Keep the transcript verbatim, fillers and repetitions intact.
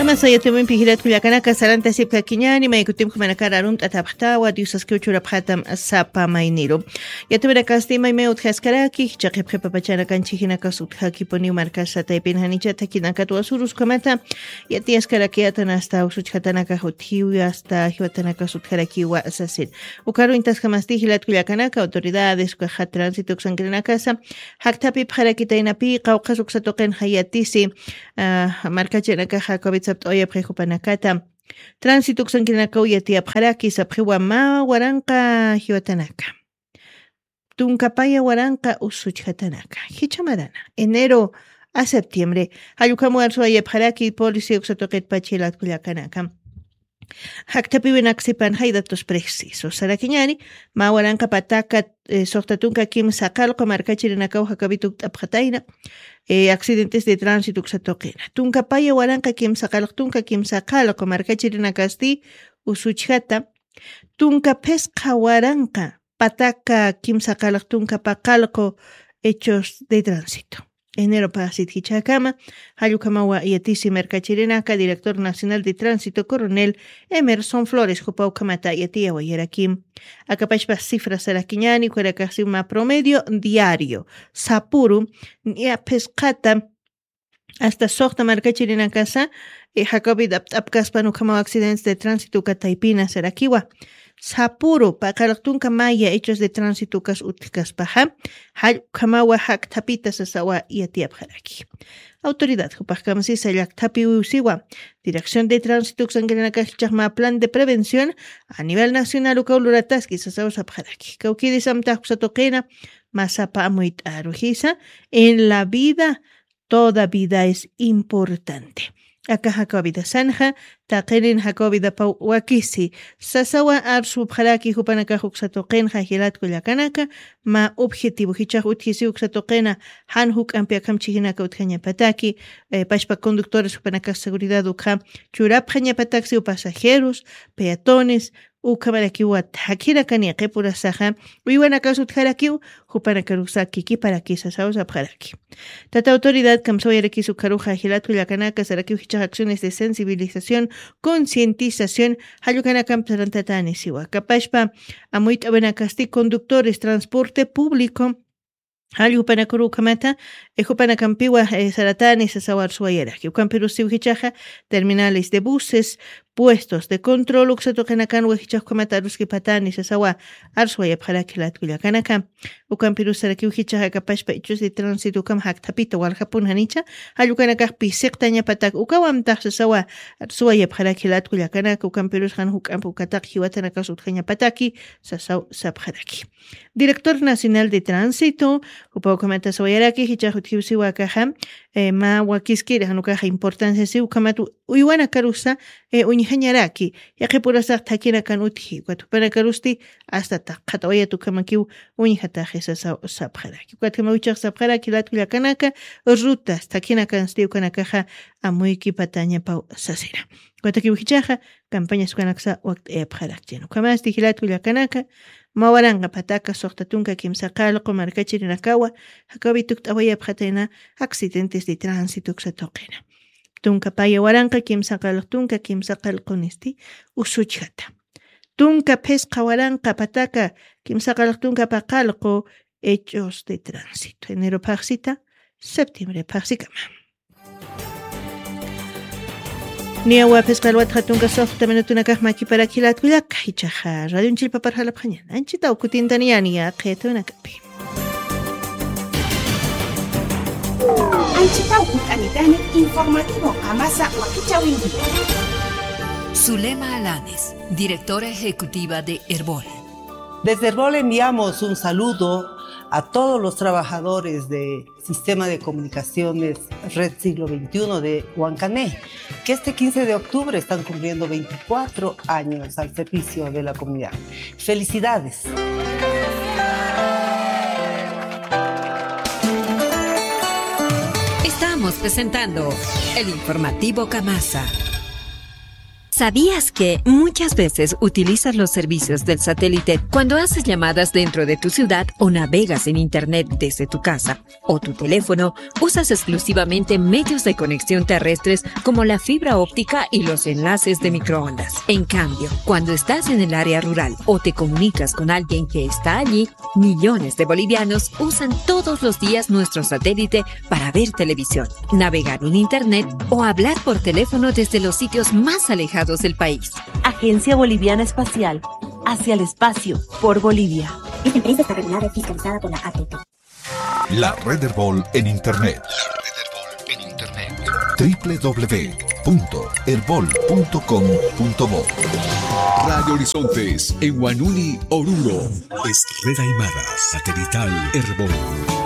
Kamasa yatiwimpi jilat kullakanaka, sarantasipkakiñäni, may kutimpi jumanakar arumt'atapxtawa, Diosaskiw churapxatam sapa mayniru. Yatiwinakasti maymay utjaskaraki, jichha qhipqipapachanakan chhijinakas utjakipuniw markasa taypin janicha thakinakatwa surus ukhamata, yatiyaskaraki atan hasta usuchjatanaka jutjiwi, hasta jiwatanakas utjarakiwa sasin. Ukaru intaskamasti jilat kullakanaka, autoridades, ukaxa tránsito uksankirinakasa, jakthapipxarakitaynapi, qawqhas uksa tuqinxa yatisi, ah, markachirinakaxa COVID sapt'awayapxi jupanakata. Tránsito uksankirinakaw yatiyapxaraki, sapxiwa mä waranqa jiwatanaka. Tunka paya waranqa usuchjatanaka. Jichha marana. Enero a septiembre. Jall ukham arsuwayapxaraki policía uksa tuqitpach jilat kullakanaka. Jakthapïwinaka sipanxay datos precisos sarakiñäni, mä waranqa pataka, eh, suxta tunka kimsa qallqu markachirinakaw jakawi tukt'apxatayna, eh, accidentes de tránsito uksa tuqina. Tunka paya waranqa kimsa qallqu, tunka kimsa qallqu markachirinakasti usuchjata, tunka phisqa waranqa pataka kimsa qallqu tunka paqallqu hechos de tránsito. Enero phaxsit jichhakama, jall ukhamawa yatisi markachirinaka, director nacional de tránsito, coronel Emerson Flores, jupaw ukhamata yatiyawayarakim. Akapachpa cifra sarakiñäni, ukharakaxsi mä promedio diario. Sapuru, niya phisqata, hasta suxta markachirinakasa, eh, jakawi apt'apkaspan ukhamaw accidentes de tránsito uka taypina sarakiwa. Sapuru, paqallqu tunka maya hechos de tránsito ukas utjkaspaxa, jall ukhamawa jakthapita sasawa yatiyapxaraki. Autoridad jupax kamsisa llakthapiw siwa, Dirección de Tránsito uksankirinakax jichhax mä plan de prevención a nivel nacional ukaw lurataski sasaw sapxaraki. Kawkïrisamtax uksa tuqina, mä sapa amuyt'aru jisa, en la vida toda vida es importante. Aka jakaw vidasanxa, taqinin jakaw vidapaw wakisi. Sasawa arsupxaraki jupanakax uksa tuqinxa jilat kullakanaka, mä objetivo jichhax utjisiw uksa tuqina, jan juk'ampi akham chhijinaka utjañapataki, eh, pachpa conductores jupanakax seguridad ukha churapxañapataksi, pasajeros, peatones, ukhamarakiwa thakhirakan yaqhipurasaxa, uywanakas utjarakiw, jupanakarusa kikiparaki sasaw sapxaraki. Tata autoridad kamsawayarakis ukharuxa jilat kullakanaka sarakiw jichhax acciones de sensibilización, concientización, jall ukanakamp sarantatani siwa. Akapachpa amuyt'awinakasti conductores, transporte público, jall jupanakaru ukhamata, eh, jupanakampiwa, eh, saratani sasaw arsuwayaraki. Ukampirusiw jichhaxa terminales de buses, puestos de control uksa tuqinakanwa jichhax ukhamata aruskipatani sasawa arsuwayapxaraki jilat kullakanaka. Ukampirus sarakiw jichhax akapachpa hechos de tránsito ukham jakthapita waljapun janicha, jall ukanakax pisiqtañapatak ukaw amtax sasawa arsuwayapxaraki jilat kullakanaka, ukampirus jan juk'amp ukataq jiwatanakas utjañapataki sasaw sapxaraki. Director Nacional de Tránsito, jupaw ukhamata sawayaraki, jichhax utjiw siwa akaxa, eh, mä wakiskiri jan ukaxa importancia siw ukhamat u-, uywanakarusa, eh, uñjañaraki, yaqhipurasax thakhinakan utji, ukat jupanakarusti hasta taqxatawayat ukhamakiw uñjataxi sasaw sapxaraki. Ukat jamaw jichhax sapxaraki jilat kullakanaka, rutas thakhinakansti ukanakaxa amuykipatañapaw sasina. Ukatakiw jichhaxa, campañas ukanaksa wakt'ayapxarakchin. Ukhamasti jilat kullakanaka, mä waranqa pataka suxta tunka kimsa qallqu markachirinakawa, jakawi tukt'awayapxatayna accidentes de tránsito uksa tuqina. Tunka paya waranqa kimsa qallqu tunka kimsa qallqunisti usuchjata. Tunka phisqa waranqa pataka kimsa qallqu tunka paqallqu hechos de tránsito. Enero phaxsita, septiembre phaxsikama. Niyawa phisqa alwat jatunka suxta minutunakax makiparak jilat kullaka, jichhaxa radion chillpapar jalapxañan. Anchitaw kutintaniyani yaqhitawinakapi. Anchitaw kutanitani informativo kamasa wakichäwinki. Zulema Alanes, directora ejecutiva de Erbol. Desde Erbol enviamos un saludo a todos los trabajadores de Sistema de Comunicaciones Red Siglo veintiuno de Huancané, que este quince de octubre están cumpliendo veinticuatro años al servicio de la comunidad. Felicidades. Estamos presentando el informativo Kamasa. ¿Sabías que muchas veces utilizas los servicios del satélite cuando haces llamadas dentro de tu ciudad o navegas en Internet desde tu casa o tu teléfono? Usas exclusivamente medios de conexión terrestres como la fibra óptica y los enlaces de microondas. En cambio, cuando estás en el área rural o te comunicas con alguien que está allí, millones de bolivianos usan todos los días nuestro satélite para ver televisión, navegar en Internet o hablar por teléfono desde los sitios más alejados del país. Agencia Boliviana Espacial, hacia el espacio, por Bolivia. Esta empresa está regulada y fiscalizada por la A T P. La Red Erbol en Internet. La Red Erbol en Internet. W W W punto erbol punto com punto bo. Radio Horizontes, en Huanuni, Oruro. Es Red Aymara, satelital Erbol.